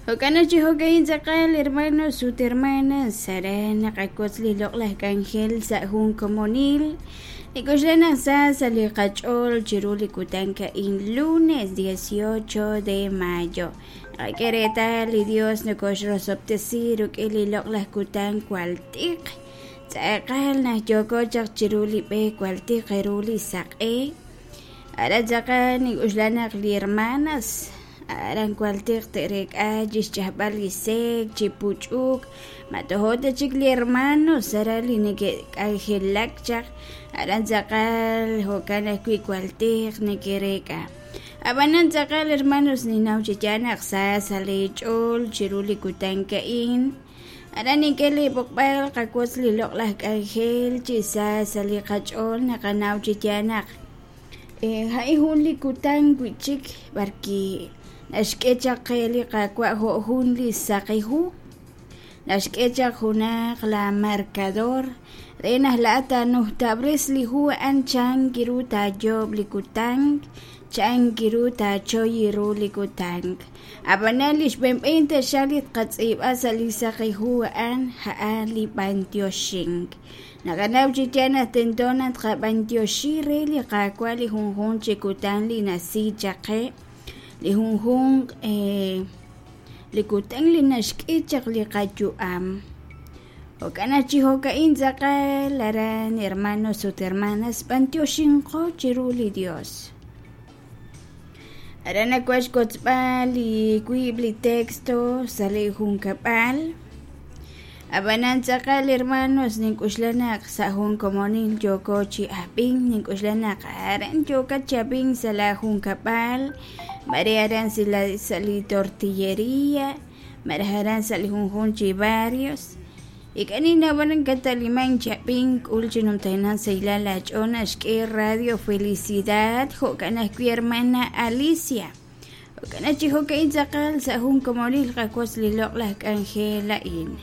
Jo'kan naq chi jo'ka'in tz'aqal, hermanos ut hermanas, aran naqawotz li loq'laj k'anjel sa' jun komonil. Nik'oxla naq sa sa' li qach'ool chiru li kutan a'in lunes 18 de mayo. Naqak'e reetal li Dios nokoxrosob'tesi rik'in li loq'laj kutan jwal tiq. Tz'aqal naq yooko chaq chiru li b'e jwal tiq ru li saq'e. Aran tz'aqal nink'oxla naq li hermanas aran jwal tiq te'reek'a chi xch'ajb'al li sek', chi puch'uk, ma tojo' ta chik li hermanos aran li neke'k'anjelak chaq aran tz'aqal jo'kan ajwi' jwal tiq neke'reek'a. Ab'anan tz'aqal hermanos ninnaw chi yaal naq sa sa' leech'ool chiru li kutan a'in. Aran nink'e li b'oqb'al qawotz li loq'laj k'anjel chi sa sa' li qach'ool naqanaw chi yaal naq a'in jun li kutan wi'chik b'arwi' naxk'e chaq qe li Qaawa' jo' jun li saqi hu, naxk'e chaq junaq la marcador re naq laa'at taanujtab'res li hu a'an chan ru taayoob' li kutan, chan ru taachoy ru li kutan. Ab'anan li xb'een taxaq li tqatz'iib'a sa' li saqi hu a'an, a'an li b'antioxink. Naqanaw chi yaal naq tento naq tqab'antioxi re li Qaawa' li junjunq chi kutan li nasi chaq qe, li junjunq li kutan li naxk'e chaq li qayu'am. Jo'kan naq chi jo'ka'in tz'aqal aran hermanos ut hermanas b'antioxinqo chiru li Dios. Aran nawaj xwotzb'al li wiib' li texto sa' li junkab'al. Ab'anan tz'aqal hermanos nink'oxla naq sa' jun komonil yooko chi ab'ink, nink'oxla naq aran yookat chi ab'ink sa' la junkab'al, mare aran sa' li tortilleria, malaj aran sa' li junjunq chi barrios. Ink'a' ninnaw b'ar nakat'alimank chi ab'ink k'ul chi numtajenaq sahilal laach'ool naxk'e Radio Felicidad jo'kan ajwi' hermana Alicia. Jo'kan naq chi jo'ka'in tz'aqal sa' jun komonil qawotz li loq'laj k'anjel a'in.